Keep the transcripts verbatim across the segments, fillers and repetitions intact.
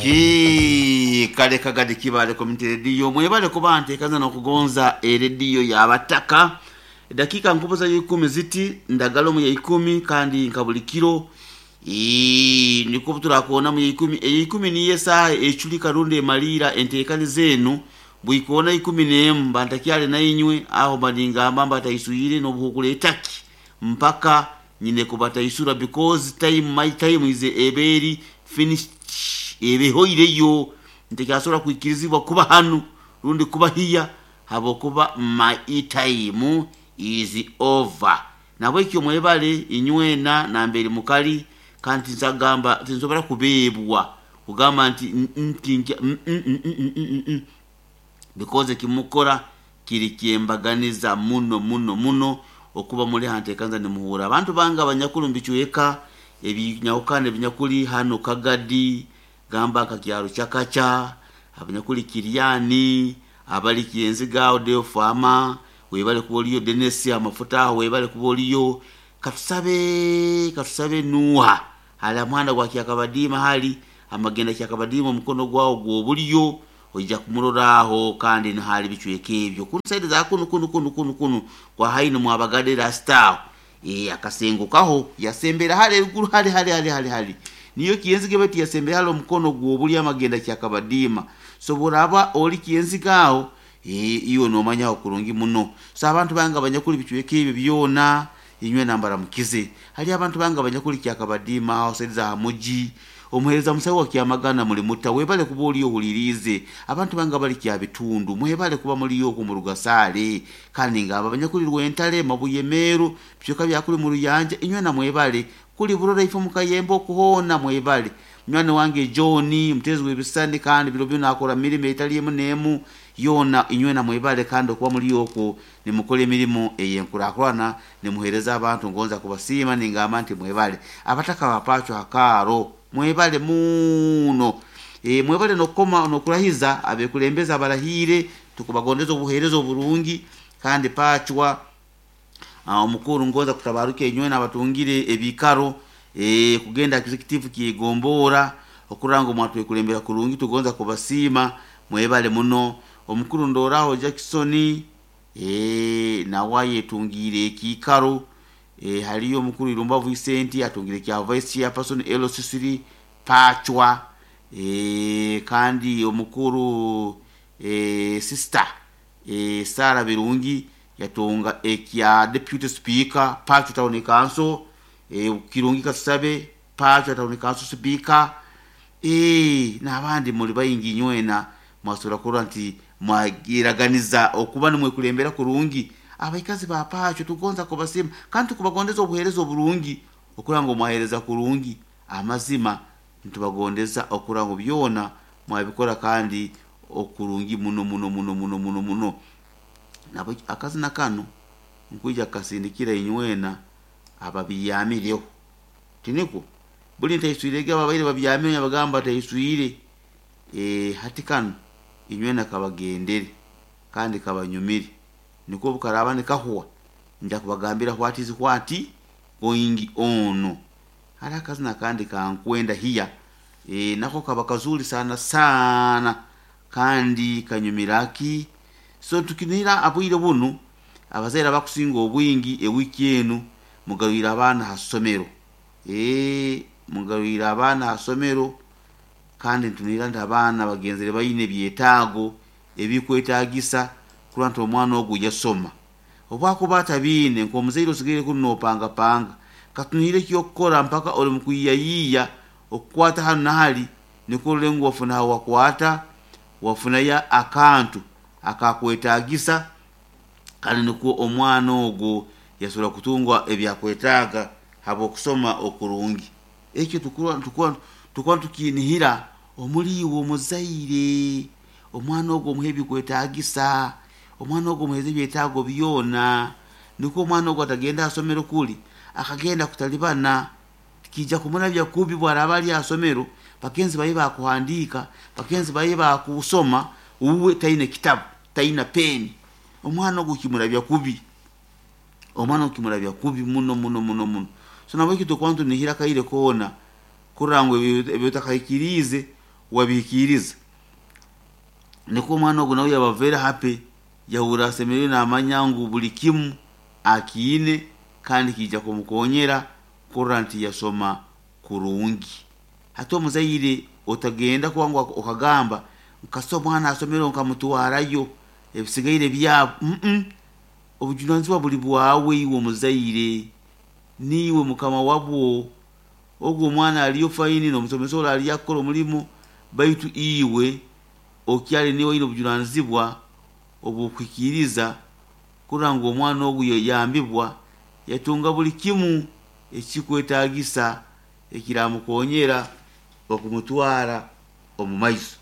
Okay, kale Kagadi Kibaale Community Radio, mwebale kuba nteekaza n'okugonza erediyo y'abataka. Eddakiika nkubuza y'ikumi ziti ndagala omu y'ikumi, kandi nka buli kiro Ii, nikwo turakoona mu y'ikumi. Ey'ikumi niyo esaaha eculika rundi emaliira enteekaniza enu. Bwikoona ikumi n'emu mba ntakyali nainywe aho, mba ningamba mbataiswire n'obuhukura etaki mpaka nyine kubataisura, because time, my time is ebeeri finished, ebehoireyo, ntekyasobora kwikirizibwa kuba hanu rundi kuba hiya habwokuba my time is over. Nabwekyo mwebale inywena namberi mukali, kandi tinsagamba tinsobora kubeebwa kugamba nti nti nkya mm, mm, mm, mm, mm, mm. Because ekimukora kiri kyembaganiza muno muno muno okuba muli hantekanza nimuhura abantu bange abanyakuli mubicweka ebinyahukana ebinyakuli hano Kagadi, gamba nka kyaro Kyakaca, abanyakuli Kiryani, abali Kyenziga aho Deo Farmer, webale kuba oliyo. Denesi amafuta aho, webale kuba oliyo. Katusabe, katusabe Nuha hali amuhanda gwa Kyakabadiima, hali amagenda Kyakabadiima, omukono gwawo gw'obulyo oija kumurora aho. Kandi nihali bicweka ebyo kunu saidi za kunu kunu kunu kunu kunu kwa haini mwabagadde rasitawo e, akasengo kaho yasembera hali eruguru hali hali hali hali hali niyo Kyenzige, bati yasembera hali omukono gw'obulyo amagenda Kyakabadiima. So buraba oli Kyenziga aho, e, iwe nomanyaho kurungi muno. So abantu bange abanyakuli bicweka ebyo byona, inywe nambaramukize. Hali abantu bange abanyakuli Kyakabadiima aho saidi za hamuji, omuhereza musawo wa Kyamagana muli mutta, webale kuba oliyo ohuliriize. Abantu bange abali Kyabitundu, mwebale kuba muliyo okwo mu Rugasaale. Kandi ngabo abanyakuli Rwentale, Mabuye, Meeru, bicweka byakuli mu Ruyanja, inywe namwebale kuli Burora, ifo mukayemba okuhoona, mwebale. Munywani wange John mutezi w'ebisani, kandi biro bino akora mirimo etali emu n'emu yoona, inywe namwebale kandi okuba muli okwo nimukora emirimu ey'enkurakurana, nimuheereza abantu. Ngonza kubasiima ningamba nti mwebale. Abataka bapaachwa hakaaro, mwebale muno. e, mwebale nokukoma nokurahiza abekulembeza abarahiire, tukubagondeza obuheereza oburungi. Kandi pachwa omukuru ngonza kutabaruka inywe abatungire ebikaro e, kugenda executive kyegombora okurora ngu mwatwekulembera kurungi, tugonza kubasiima, mwebale muno. Omukuru ndoraho Jackson e, nawe ayetungiire ekiikaro. e, haliyo omukuru Irumba Vicent atungire kya vice chairperson L C three Pachwa. e, kandi omukuru e, sister e, Sara Birungi yatunga ekya deputy speaker Pachwa Town Council. e, Kirungi katusabe Pachwa Town Council speaker. e, n'abandi muli baingi, nywena mwasobora kurora nti mwagiraganiza okuba nimwekulembera kurungi. Abaikazi ba Pachwa tugonza kubasiima kandi tukubagondeza obuheereza oburungi okurora ngu mwahereza kurungi. Amazima nitubagondeza okurora ngu byona mwabikora kandi okurungi muno muno muno muno muno muno. Nabo akazina kano nkwija kukasindikira inywena ababyamireho, tinikwo buli ntaiswirege ababaire babyamire bagamba taiswire. e, hati kano inywena kabagendere kandi kabanyumire, nikwo bukaraba nikahwa nja kubagambira what is what going on. Hali akazina kandi kankwenda hiya, e, nako kaba kazuri sana sana kandi kanyumiraki. So tukinira abwire bunu abazaire abakusinga obwingi ewiki enu mugarwire abaana ha ssomero, e, mugarwire abaana ha ssomero. Kandi ntunira nti abaana bagenzere baine ebyetaago ebikwetagisa kurora nti omwana ogu yasoma. Obwakuba atabiine, nk'omuzaire osigaire kunu nopangapanga katunire ekyokukora mpaka oli mukwiyayiiya okukwata hanu nahali, nikwo orole ngu wafuna hawakwata, wafunayo akantu akakwetagisa, kandi nikwo omwana ogwo yasobora kutunga ebyakwetaaga habw'okusoma okurungi. Ekyo tukuba tukuba tukuba tukinihira omuli iwe omuzaire, omwana ogwo omuhe ebikwetagisa, omwana ogwo omuheze ebyetaago byona, nikwo omwana ogwo atagenda ha somero kuli akagenda kutalibana, tikija kumurabya kubi. Bwaraba ali ha somero, bagenzi baye bakuhandiika, bagenzi baye bakusoma, uwe taine kitabu, taina peni, omwana ogwo kimurabya kubi, omwana ogwo kimurabya kubi muno muno muno muno. So nabwekyo tukuba nitunihira akaire koona kurora ngu ebyo otakahikiriize. wabihikiriza. Nikwo omwana ogu nawe yaba very happy, yahurra asemeriirwe namanya ngu buli kimu akiine kandi kiija kumukonyera kurora nti yasoma kurungi. Hati omuzaire otagenda kuba ngu okagamba kasita omwana asomere nkamutwarayo ebisigaire byabo, mm obujunanizibwa buli bwawe iwe omuzaire, niiwe mukama wabwo. Ogu omwana aliyo fine n'omusomesa ori aliyo akukora omulimo, baitu iwe okyali niiwe oine obujunanizibwa obw'okuhikiiriza kurora ngu omwana ogu yayambibwa yatunga buli kimu ekikwetaagisa ekiramukonyera okumutwara omu maiso.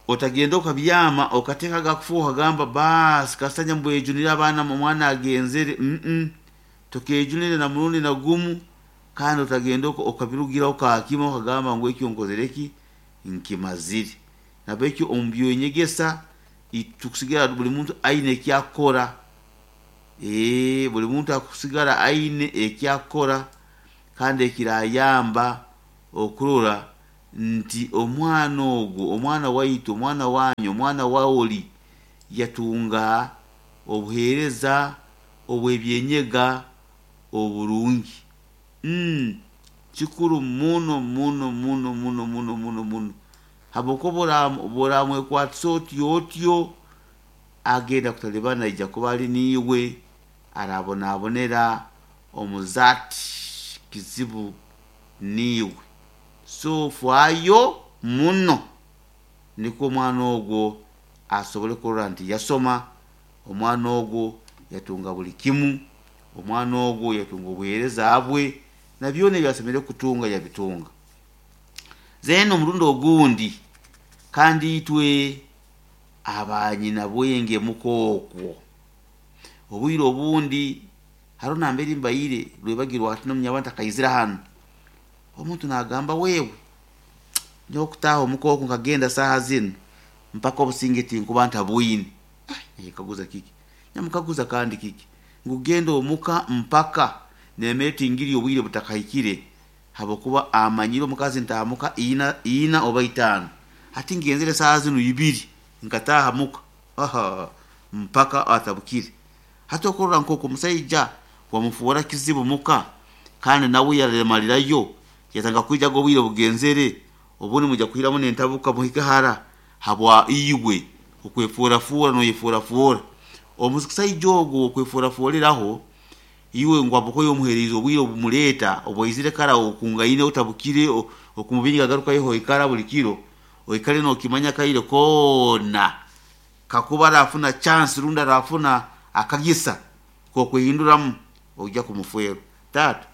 Otagenda okabyama okateeka agakufu okagamba baasi kasita nyambwejunire abaana omwana agenzere, mm tokeejunire na murundi na gumu, kandi otagenda okabirugiraho kakima okagamba ngu ekyo nkozere ki, nkimazire. Nahabwekyo omu byenyegesa tukusigara buli muntu aine eki akukora, ee buli muntu akusigara aine eki akukora kandi ekirayamba okurora nti omwana ogu, omwana waitu, omwana wanyu, omwana waoli yatunga obuheereza obw'ebyenyega oburungi. Mm kikuru muno muno muno muno muno muno muno, habwokuba obu oramwekwatisa otyo otyo agenda kutalibana aija kuba ali niiwe arabonabonera omu zaati kizibu niiwe. So faayo muno nikwo omwana ogwo asobole kurora nti yasoma, omwana ogwo yatunga buli kimu, omwana ogwo yatunga obuheereza bwe na byona ebi asemeriire kutunga yabitunga. Then omurundi ogundi kandi itwe abanyina bwenge muka okwo, obwire obundi haroho nambere mbaire rwebagyo hati n'omunyabantu ntakaizire hanu, omuntu nagamba wewe nyowe kutaaha omuka oku nkagenda saaha zinu mpaka obusinge tinkuba ntabwine. Nekaguza kiki, nyamukaguza kandi kiki, ngu genda omuka mpaka nemere tingiri obwire butakahikire, habwokuba amanyire omukazi ntaaha muka ina, ina oba itaano, hati ngenzere saaha zinu ibiri nkataaha muka, aha mpaka atabukire. Hati okurora nk'oku omusaija wamufoora kizibu muka kandi nawe yaremalirayo yatandika kwijaga obwire bugenzere, obundi mwija kuhiramu n'entabuka muhike hara habwa iwe okwefuurafuura noyefuurafuura. Omusaija ogu okwefuurafuuliraho iwe ngu habwokuba omuheriize obwire obumuleeta obwaizire kara okungaine otabukire okumubinga agarukayo oikara buli kiro, oikale nookimanya akaire koona kakuba arafuna chance rundi arafuna akagisa k'okwehinduramu oija kumufeerwa. Taata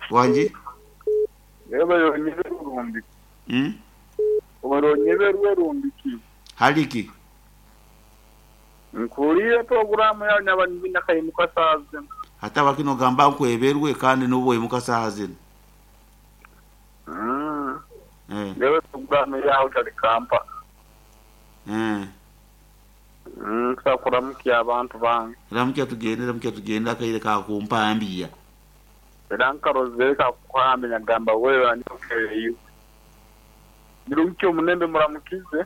wangi? Mm? Hali ki? Nkuliire poroguramu yawe naba nakayimuka saaha zinu. Hati habwaki nogamba nkweberwe kandi nobu oimuka saaha zinu? Mm. Eh. Ndewe poroguramu yawe tali kampa. Eh. Mm, nkusaba kuramukya abantu bange. Ramukya tugende, ramukya tugende akaire kakumpambiya. Era nkarozere kakuhambe nyagamba wewe anyokereyo. Birungi omunembe muramukize.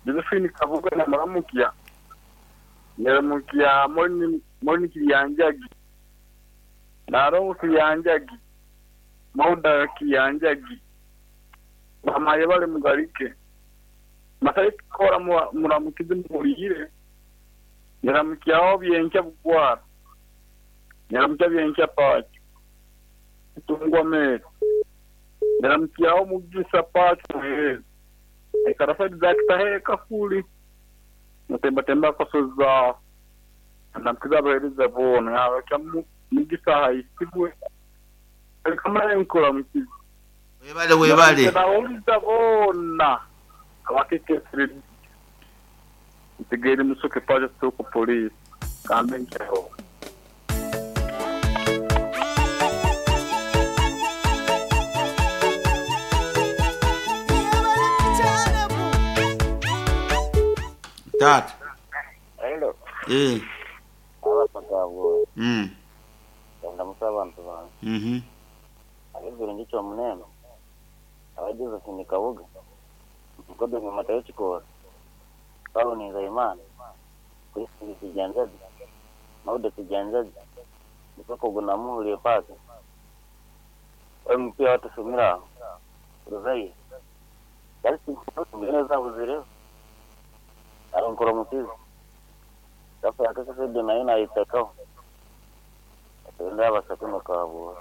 Josephine Kabuga na muramukya. Nyaramukya Moni Moni Kiyanjagi. Narongo Kiyanjagi. Mauda Kiyanjagi. Bamaye bale mugarike. Masai kora muramukize murire. Nyaramukya obyenkya bugwara. Nyaramukya byenkya pacho. Tungwa mero. Nyaramukya omugisa pacho eh. Ekarasa zakitahe kafuli. Mutemba temba kosoza. Ndamukiza abahereza bona yabakya mugisa hayisibwe. Kamara nkora mukiza. Webale webale. Ndawuliza bona abakekesire ntegere musoke paje soko police kambe nchaho. Tata. Hello. Eh. Abasagabo. Mm. Ndamusa abantu bange. Mhm. Abeverende Kyomunene, aba Josephine Kabuga, Mukodo Matayo Kikora, Paulo Nizeyimana, Christine Kijanjabi, Maude Kijanjabi, Mukoko Gunamuhuriye Paka, M P watusumira aho, Ruzayi, neza buzireho, aronkora mukizi, Rafa yakakasede nayo nayitakaho, atenda abasatu nokabura.